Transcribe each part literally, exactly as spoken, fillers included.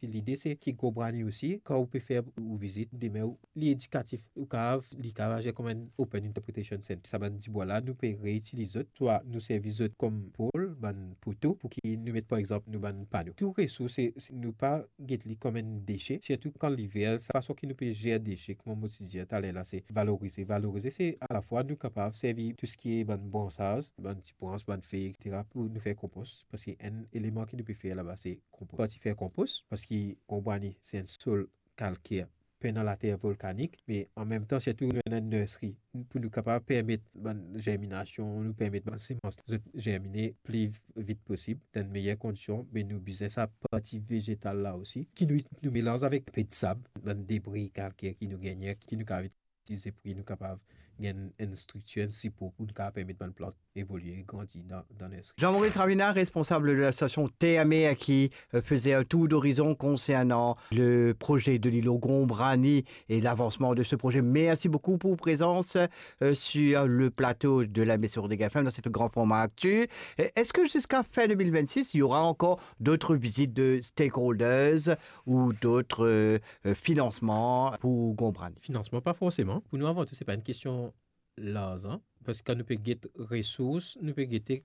Si lide se ki Grand Brani osi, kan ou pe fer ou vizit, demin ou, li edikatif, ou kapav, li kapav azir kouma enn open interpretation center. Sa bann dibwa la, nou pe reitiliz zot, swa nou servi zot kom pol, bann poto, pou ki nou met, par exanp, nou bann pano. Tou resours, se, se, nou pa get li kom enn dese, sirtou kan liver, sa fason ki nou pe zer dese, kouma mo ti dir taler la, se valorize. Valorize, se alafwa nou kapav servi tou seki bann bransaz, bann ti brans, bann fey, et cetera, pou nou fer konpos, parski enn eleman ki nou pe fer laba, se konpos. Parti fer konpos, parski Grand Brani se enn sol kalker, pena later volkanik, me anmemtan, sirtou nou ena enn nursery, pou nou kapav permet bann zerminasion, nou permet bann semans zot zermine pli vit posib, dan meyer kondision, me nou bizin sa parti vezetal la osi, ki nou, nou melanz avek pe disab, bann debri kalker ki nou gagne, ki nou kapav itilize pou ki nou kapav gagn enn striktir, enn sipor pou nou kapav permet bann plant evolie, grandi dan, dan nursery. Jean-Maurice Ravina, responsable de l'association Terre Mer, qui euh, faisait un tour d'horizon concernant le projet de l'îlot Grand Brani et l'avancement de ce projet. Merci beaucoup pour votre présence euh, sur le plateau de la Maison de Gafem dans cette grand format actu. Et est-ce que jusqu'à fin deux mille vingt-six, il y aura encore d'autres visites de stakeholders ou d'autres euh, euh, financements pour Grand Brani? Finansman, pa forseman. Pou nou, avan tou, se pa enn kestion larzan. Parski kan nou pe get resours, nou pe gete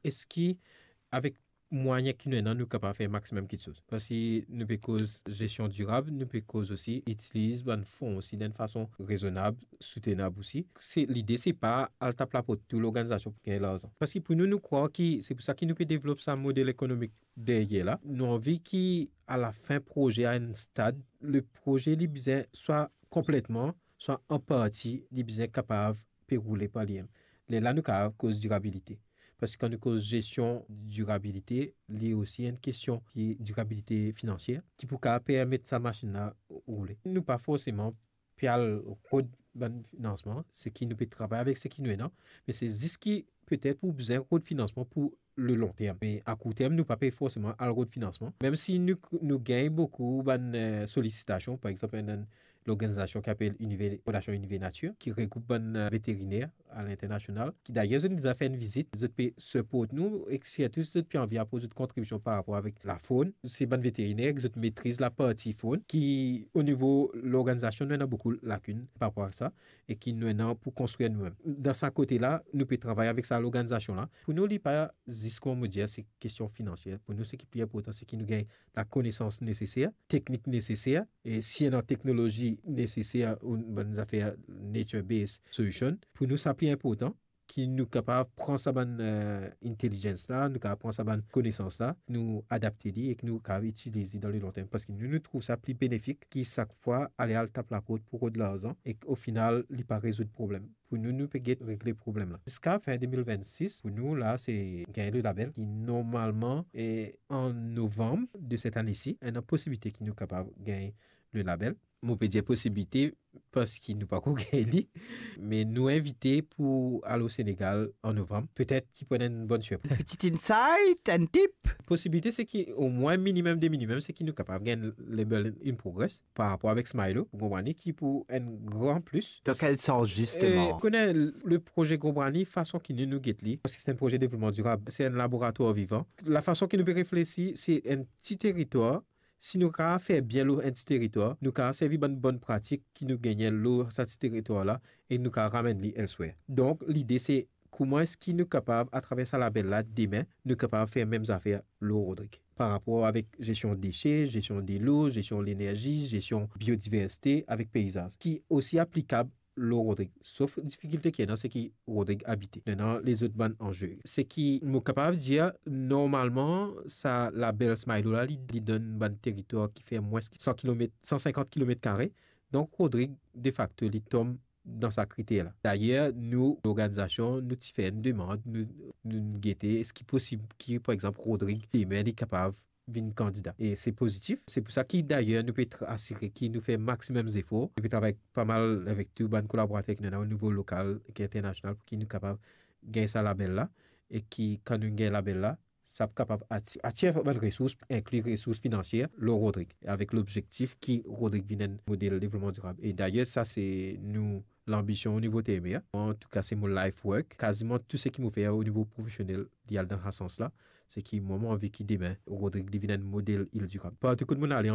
eski avek mwayen ki nou ena, nou kapav fer maximum kitsoz. Parski nou pe koz zestion dirab, nou pe koz osi itiliz bann fon osi dan enn fason rezonab, soutenab osi. Se, lide se pa al tap laport tou lorganizasion pou gagn larzan. Parski pou nou, nou krwar ki, se pou sa ki nou pe devlop sa model ekonomik deryer la. Nou anvi ki, alafin proze a enn stad, le proze li bizin swa konpletman, swa an parti, li bizin kapav pe roule par limem. Lerla nou kapav koz dirabilite. Parski kan nou koz zestion dirabilite, li osi enn kestion ki dirabilite finansier, ki pou kapav permet sa masinn la roule. Nou pa forseman pe al rod bann finansman, seki nou pe travay avek seki nou ena, me se zis ki petet pou bizin rod finansman pou le long term. Me a kour term, nou pa pe forseman al rod finansman. Mem si nou, nou gagn boukou bann eh, solisitasion, par exanp, enn, enn lorganizasion ki apel Univer, Fondation Univer Nature, ki regroup bann eh, veteriner a linternasional, ki dayer zot inn deza fer enn vizit, zot pe siport nou, ek sirtou zot pe anvi aport zot kontribision par rapor avek lafonn. Se bann veteriner ki zot metriz laparti fonn, ki o nivo lorganizasion, nou ena boukou lakinn par rapor a sa, e ki nou ena pou konstrir noumem. Dan sa kote la, nou pe travay avek sa lorganizasion la. Pou nou, li pa zis, kouma mo dir, se kestion finansier. Pou nou, seki pli inportan, se ki nou gagn lakonesans neseser, teknik neseser, e si ena teknolozi neseser ou bann zafer nature-based solution, pou nou, sa pli inportan, ki nou kapav pran sa bann eh, intelligence la, nou kapav pran sa bann konesans la, nou adapte li ek nou kapav itiliz li dan le long term. Parski nou, nou trouv sa pli benefik ki sak fwa ale al tap laport pou rod larzan ek o final, li pa rezoud problem. Pou nou, nou pe get regle problem la. Ziska fin de mil vennsis, pou nou la, se gagn le label ki normalman, e an novanm de set ane si, ena posibilite ki nou kapav gagn le label. Mo pe dir posibilite parski nou pako gagn li, me nou invite pou al o Senegal an novanm. Petet ki pou ena enn bonn sirpriz. Petit insight, enn tip. Posibilite se ki omwin minimem de minimem, se ki nou kapav gagn label In Progress par rapor avek Smilo, Grand Brani, ki pou enn gran plis. Dan kel sans, zisteman? Eh, kone le proze Grand Brani, fason ki nou, nou get li, parski se enn proze devlopman dirab, se enn laboratwar vivan. Lafason ki nou pe reflesi, se enn ti teritwar, si nou kapav fer bien lor enn ti teritwar, nou kapav servi bann bonn pratik ki nou gagne lor sa ti teritwar la, e nou kapav ramenn li elsewhere. Donk, lide se kouma eski nou kapav, atraver sa label la, demin, nou kapav fer mem zafer lor Rodrig. Par rapor avek zestion dese, zestion delo, zestion lenerzi, zestion biodiversite avek peizaz, ki osi aplikab lor Rodrig. Sof difikilte ki ena, se ki Rodrig abite. Ena lezot bann anze. Se ki mo kapav dir, normalman, sa label Smilo la, li, li donn bann teritwar ki fer mwins ki san kilomet, san sinkant kilomet kare. Donk, Rodrig, defakto, li tom dan sa kriter la. Dayer, nou, lorganizasion, nou ti fer enn demann, nou, nou gete, eski posib ki, par exanp, Rodrig, demin, li kapav vinn kandida. E se pozitif. Se pou sa ki, dayer, nou pe tra-, asire ki nou fer maximum zefor. Nou pe travay pa mal avek tou bann kolaborater ki nou ena o nivo lokal ek internasional pou ki nou kapav gagn sa label la. E ki, kan nou gagn label la, sa pou kapav ati-, atir bann resours, inkli resours finansier, lor Rodrig, avek lobzektif ki Rodrig vinn enn model devlopman dirab. E dayer, sa se nou lanbision o nivo T M A. Antouka, se mo life work. Kaziman tou seki mo fer o nivo profesionel, li al dan sa sans la. Se ki mwa, mo anvi ki demin, Rodrig, li vinn enn model il dirab. Partou kot mo ale,